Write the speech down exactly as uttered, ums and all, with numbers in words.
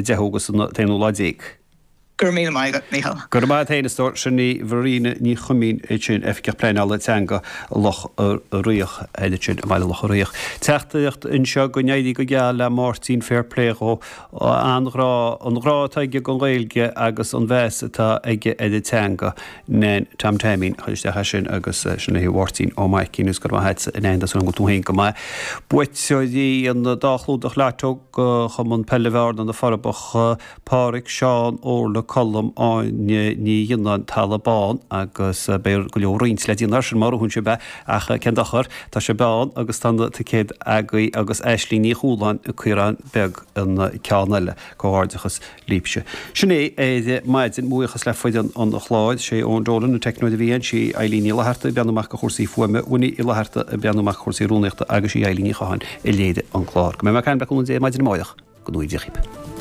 deichiú agus an t-aonú lá déag. Go raibh míle maith agat, Mícheál. Go raibh maith agat féin, a stór. Sin í Marina Ní Chuimín ansin, Oifigeach Pleanála Teanga Loch Riach, ansin i mBaile Locha Riach. Teachtaireacht anseo go n-éirí go geal le Máirtín fair play dhó. An grá, an grá atá aige don Ghaeilge agus an mheas atá aige ar an teanga. Nan Tom Taimín a chuir isteach é sin agus sin é Máirtín Ó Maicín agus go raibh maith agatsa a Nan, tá súil agam go bhfuil tú féin go maith. Buaiteoirí an dá chlúdach Lotto do Chumann Peile Bhearna, Na Forbacha, Pádraig, Seán, Órla, Colm, Áine Ní Ghionnáin, Talamh Bán agus beidh go leor roinnt le déanamh air sin má ghnóthaíonn sibh é ach cén dochar, tá sibh ann agus tá na ticéid agaibh agus Aisling Ní Chualáin, Caorán Beag an ceann eile. Comhghairdeachas libhse. Sin é ar maidin, mo bhuíochas le foireann an chláir, sé Eoin Dolan an teicneoir a bhí ann, sí Eileen Ní Fhlatharta ag breathnú amach do chúrsaí fuaime, Winnie Uí Fhlatharta ag breathnú amach do chúrsaí rúnaíochta agus sí Eileen Ní Chatháin a léirigh an clár. Go mbeidh mé ag caint le cúnamh Dé maidin amárach. Go ngnóthaí Dia dhaoibh.